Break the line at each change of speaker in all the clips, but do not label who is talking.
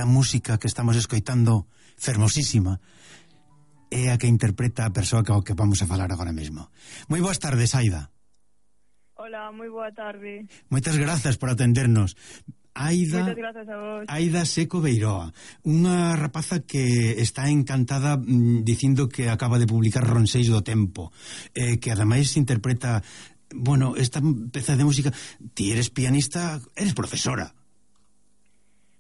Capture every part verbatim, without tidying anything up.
música que estamos escoitando, fermosísima, é a que interpreta a persoa que, que vamos a falar agora mesmo. Moi boas tardes, Aida.
Hola, moi boa tarde.
Moitas grazas por atendernos. Aida,
Moitas grazas a vos.
Aida Seco Beiroa, unha rapaza que está encantada mm, dicindo que acaba de publicar Ronseis do Tempo, eh, que ademais interpreta, bueno, esta peza de música. Ti eres pianista, eres profesora.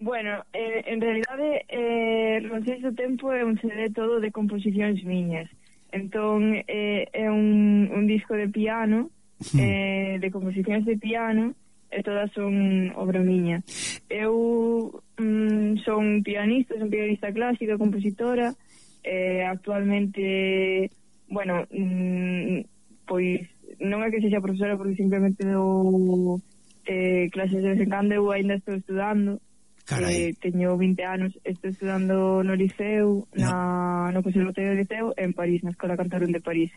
Bueno, eh, en realidade eh, Ronseis do Tempo é un C D todo de composicións miñas. Entón eh, é un, un disco de piano, eh, de composicións de piano, e todas son obra miña. Eu mm, son pianista, son pianista clásica, compositora, eh, actualmente, bueno, mm, pois non é que sexa profesora porque simplemente dou eh, clases de vez en cando. Eu ainda estou estudando. Eh, teño vinte anos, estou estudando no Liceu, na, no Conservatorio do Liceu, en París, na Escola Cantorum de París.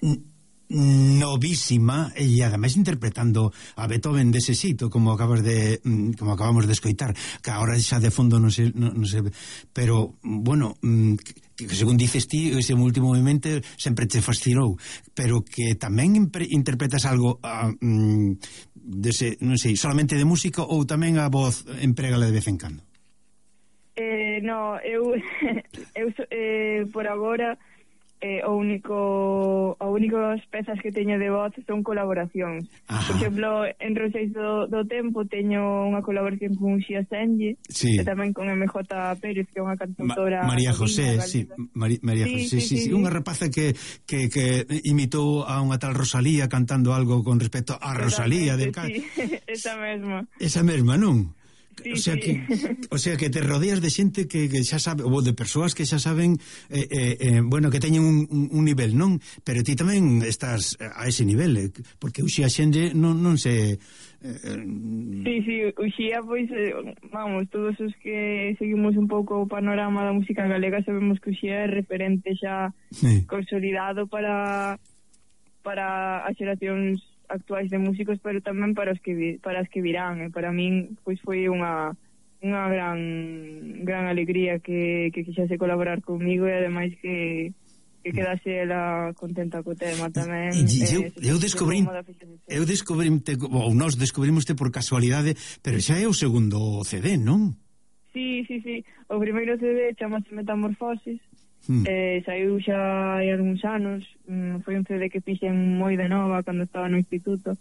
Novísima, e ademais interpretando a Beethoven dese xeito, como acabas de como acabamos de escoitar, que agora xa de fondo non sei, non, non sei, pero bueno, que, que según dices ti, ese último movimento sempre te fascinou, pero que tamén interpretas algo uh, dese, non sei, solamente de música, ou tamén a voz emprégala de vez en cando?
Eh, no, eu, eu eh, por agora eh, o único as únicas pezas que teño de voz son colaboracións. Ajá. Por exemplo, en Ronseis do, do Tempo teño unha colaboración con Uxía Senlle, sí, e tamén con M J Pérez, que é unha cantautora
Ma María José, sí, Mari María sí, José, sí, sí, sí, sí, unha rapaza que, que, que imitou a unha tal Rosalía cantando algo con respecto a Rosalía del
sí, esa mesma.
Esa mesma, non?
Sí,
o sea
sí.
que o sea que te rodeas de xente que, que xa sabe, ou de persoas que xa saben eh, eh, eh, bueno, que teñen un, un, un nivel, non? Pero ti tamén estás a ese nivel, eh, porque Uxía xente non, non se eh,
Sí, sí, Uxía, pois eh, vamos, todos os que seguimos un pouco o panorama da música galega sabemos que Uxía é referente xa sí, consolidado para para as xeracións actuais de músicos, pero tamén para os que para as que virán, e para min pois foi unha unha gran gran alegría que que quixese colaborar comigo, e ademais que que quedase ela contenta co tema tamén.
E, eu, eh, eu descobrín eu descobrimte, ou nós descubrimos-te por casualidade, pero xa é o segundo C D, non?
Sí, sí, sí, o primeiro C D chamase Metamorfosis. Hmm. Eh, saiu xa hai algúns anos, mm, foi un C D que fixen moi de nova cando estaba no instituto,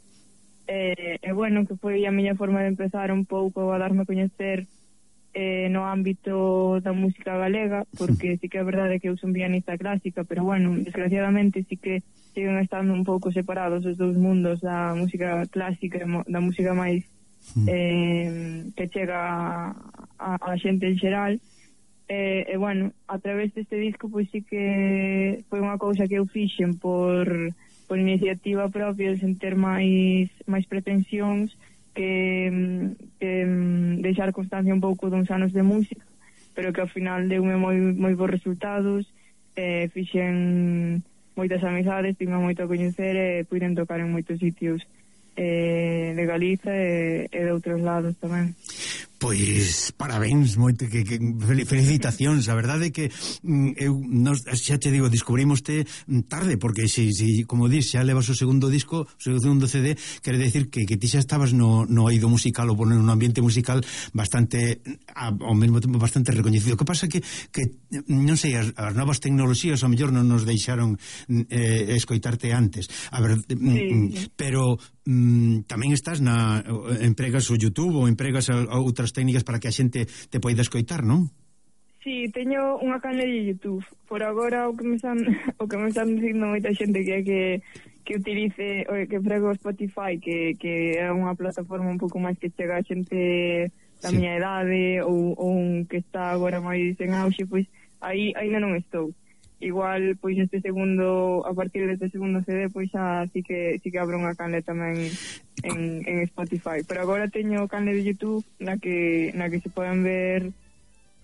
e eh, eh, bueno, que foi a miña forma de empezar un pouco a darme a coñecer eh, no ámbito da música galega, porque sí que é verdade que eu son pianista clásica, pero bueno, desgraciadamente sí que siguen estando un pouco separados os dous mundos, da música clásica e da música máis eh, que chega a, a xente en xeral. E, e bueno, a través deste disco pois sí que foi unha cousa que eu fixen por, por iniciativa propia, sen ter máis máis pretensións que, que deixar constancia un pouco duns anos de música, pero que ao final deume moi, moi bons resultados, e fixen moitas amizades, tinha moito a coñecer, e puiden tocar en moitos sitios eh, de Galiza e, e de outros lados tamén.
Pois parabéns, moito que, que felicitacións, a verdade é que eu nos, xa te digo, descubrimoste tarde, porque si, si como dis, xa levas o segundo disco, o segundo C D, quere decir que, que ti xa estabas no, no eido musical, ou no ambiente musical bastante, ao mesmo tempo bastante recoñecido. Que pasa que, que non sei, as, as novas tecnoloxías ao mellor non nos deixaron eh, escoitarte antes, a ver, sí, pero mm, tamén estás na, empregas o YouTube ou empregas a, a outras técnicas para que a xente te poida escoitar, non?
Sí, teño unha canle de YouTube. Por agora o que me están o que me están dicindo moita xente que é que que utilice, o que prego Spotify, que, que é unha plataforma un pouco máis que chega a xente da sí, miña idade, ou, ou un que está agora máis en auxe, pois aí ainda non estou. Igual, pois este segundo, a partir deste segundo C D, pois xa sí que sí que abro unha canle tamén en, en Spotify. Pero agora teño canle de YouTube na que na que se poden ver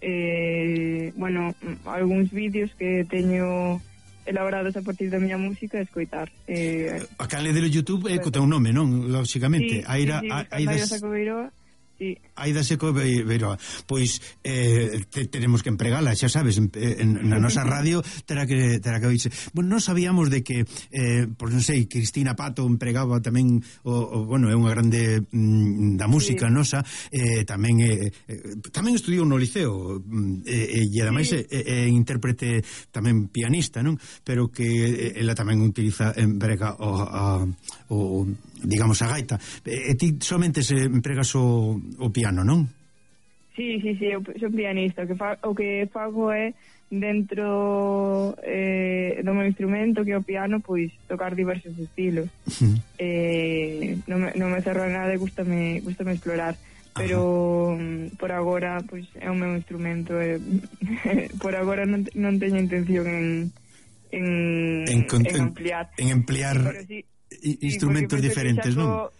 eh, bueno, algúns vídeos que teño elaborados a partir da miña música e escoitar. Eh,
a canle de YouTube é co teu nome, non? Lóxicamente.
Sí,
Aira,
sí, sí,
Aida
Seco Beiroa. sí.
Aida Seco Beiroa. Pois eh, te, tenemos que empregala, xa sabes, en, en, na nosa radio terá que terá que oírse. Bueno, non sabíamos de que eh, por non sei, Cristina Pato empregaba tamén o, o bueno, é unha grande mm, da música, sí, nosa, eh, tamén eh, eh, tamén estudiou no liceo, eh, e ademais sí, é, é intérprete tamén pianista, non? Pero que ela tamén utiliza emprega o, a, o digamos a gaita. E ti somente se empregas o, o piano, non?
Sí, sí, sí, eu sou pianista. O que, fa, o que fago é dentro eh, do meu instrumento, que é o piano, pois tocar diversos estilos. Uh-huh. eh, non, me, non me cerro a nada e gustame, gustame explorar. Pero uh-huh, por agora pois é o meu instrumento e por agora non, non teño intención en en,
en,
en ampliar
en ampliar sí, sí, instrumentos sí, diferentes, non?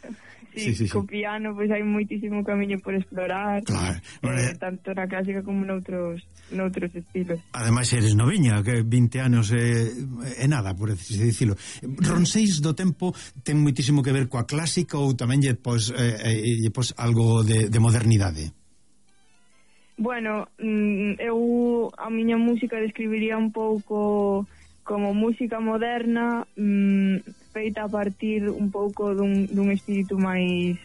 Sí, sí, sí, co piano pois hai moitísimo camiño por explorar, claro, eh, tanto na clásica como noutros noutros estilos.
Ademais eres noviña, que vinte anos é, é nada, por así dicilo. Ronseis do tempo ten moitísimo que ver coa clásica ou tamén lle pos, eh, lle pos algo de, de modernidade?
Bueno, eu a miña música describiría un pouco como música moderna, mmm, feita a partir un pouco dun, dun espírito máis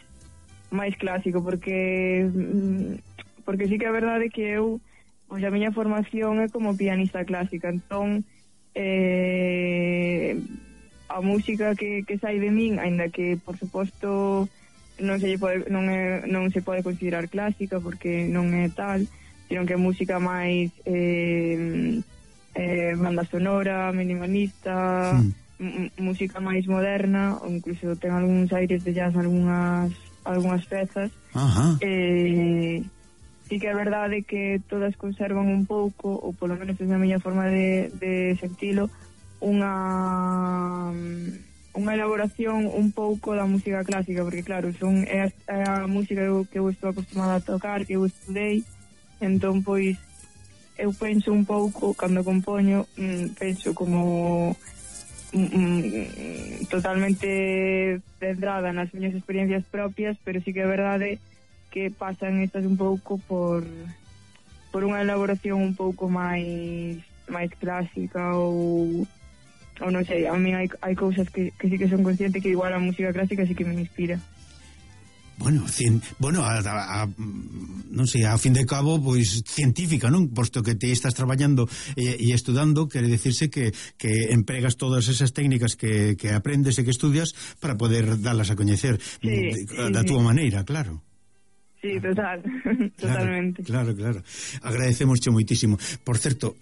máis clásico, porque mmm, porque sí que é verdade que eu, pois a miña formación é como pianista clásica, entón eh, a música que, que sai de min, aínda que por suposto non se pode, non é, non se pode considerar clásica porque non é tal, sino que é música máis eh, eh, banda sonora, minimalista, sí, música máis moderna, ou incluso ten algúns aires de jazz, algunhas algunhas pezas. Ajá. Eh, sí que é verdade que todas conservan un pouco, ou polo menos é a miña forma de, de sentilo, unha unha elaboración un pouco da música clásica, porque claro, son é a, é a música que eu estou acostumada a tocar, que eu estudei, entón pois eu penso un pouco, cando compoño, mmm, penso como mmm, totalmente centrada nas miñas experiencias propias, pero sí que é verdade que pasan estas un pouco por por unha elaboración un pouco máis máis clásica ou ou non sei, a mí hai, hai cousas que, que sí que son consciente que igual a música clásica sí que me inspira.
Bueno, cien, bueno, a, a, a, non sei, ao fin de cabo, pois científica, non? Posto que te estás traballando e, e estudando, quere decirse que, que empregas todas esas técnicas que, que aprendes e que estudias para poder darlas a coñecer, sí, da, da
sí,
túa
sí.
maneira, claro.
Sí, total, totalmente.
Claro, claro, claro. Agradecemosche moitísimo. Por certo,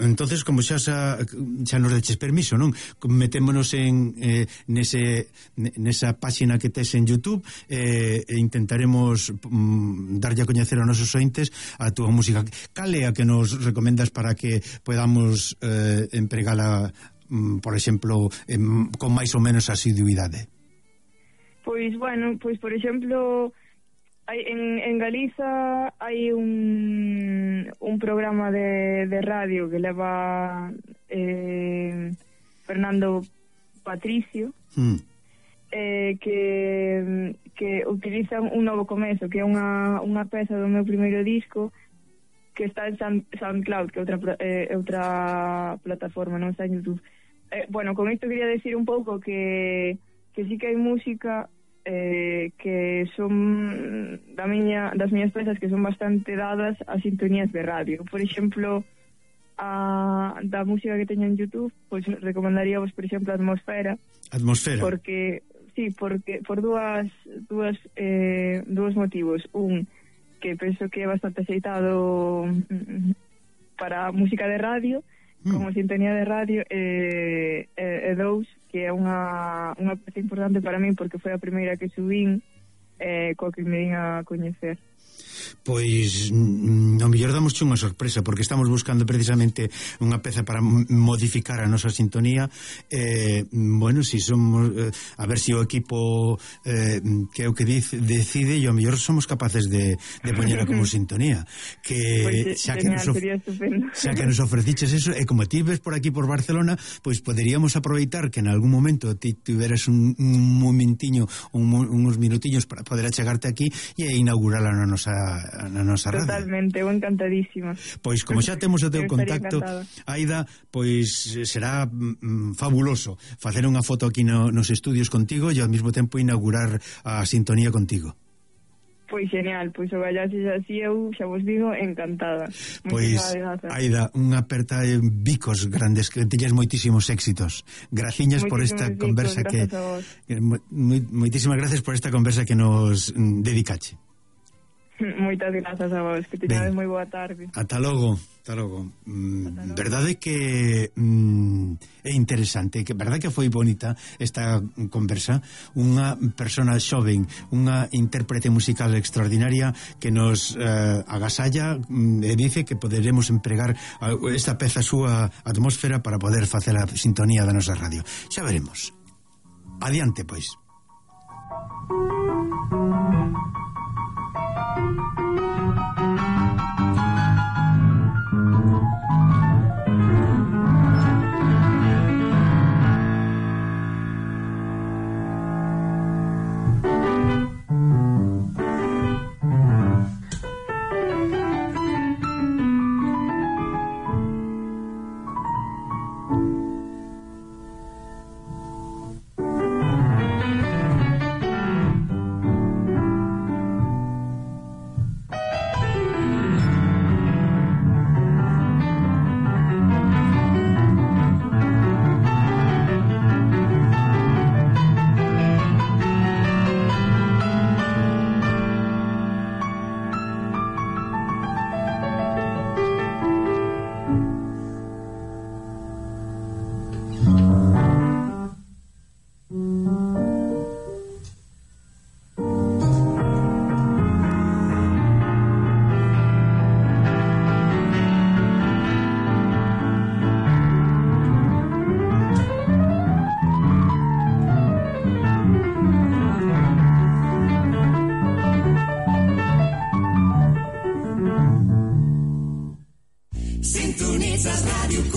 entonces como xa xa, xa nos deches permiso, non? Metémonos en eh, nese nesa páxina que tes en YouTube eh, e intentaremos mm, darlle a coñecer aos nosos ointes a túa música. Cal é a que nos recomendas para que podamos eh, empregala, mm, por exemplo, eh, con máis ou menos asiduidade?
Pois, bueno, pois por exemplo, hai, en, en Galiza hai un, un programa de, de radio que leva eh, Fernando Patricio, mm. eh, que, que utilizan un novo comezo, que é unha, unha peza do meu primeiro disco que está en Sound, SoundCloud, que é outra, eh, outra plataforma, non está en YouTube. Eh, bueno, con isto quería decir un pouco que, que sí que hai música Eh, que son da miña, das miñas pezas que son bastante dadas a sintonías de radio. Por exemplo, a da música que teño en YouTube, pois pues, recomendaríamos, por exemplo, Atmosfera.
Atmosfera.
Porque sí, porque por dúas dúas eh, dúas motivos. Un, que penso que é bastante aceitado para música de radio, mm. como sintonía de radio, e eh, eh, dous, que é unha, unha peza importante para mí porque foi a primeira que subín eh, coa que me din a coñecer.
Pois mm, ao mellor damosche unha sorpresa, porque estamos buscando precisamente unha peza para modificar a nosa sintonía. Eh, bueno, si somos eh, a ver se si o equipo eh, que é o que dice, decide, e ao mellor somos capaces de, de poñera como sintonía, que
pues,
xa que
genial,
nos of... xa que nos ofreciches eso, e como ti ves por aquí por Barcelona, pois poderíamos aproveitar que en algún momento ti tuveras un, un momentiño, un, uns minutiños para poder achegarte aquí e inaugurala na nosa, na nosa radio.
Totalmente, eu encantadísima.
Pois como xa temos o teu contacto, Aida, pois será mm, fabuloso facer unha foto aquí no, nos estudios contigo e ao mesmo tempo inaugurar a sintonía contigo.
Pois genial, pois o gallases así eu xa vos digo encantada.
Pois, Aida, unha aperta de bicos grandes, que teñas moitísimos éxitos. Graciñas por esta bicos, conversa que, que moitísimas gracias por esta conversa que nos mm, dedicache.
Moitas grazas a vos, que teñades moi boa tarde.
Ata logo, ata logo. Mm, verdade que mm, é interesante, que verdade que foi bonita esta conversa. Unha persona xoven, unha intérprete musical extraordinaria que nos eh, agasalla mm, e dice que poderemos empregar esta peza súa atmósfera para poder facer a sintonía da nosa radio. Xa veremos. Adiante, pois.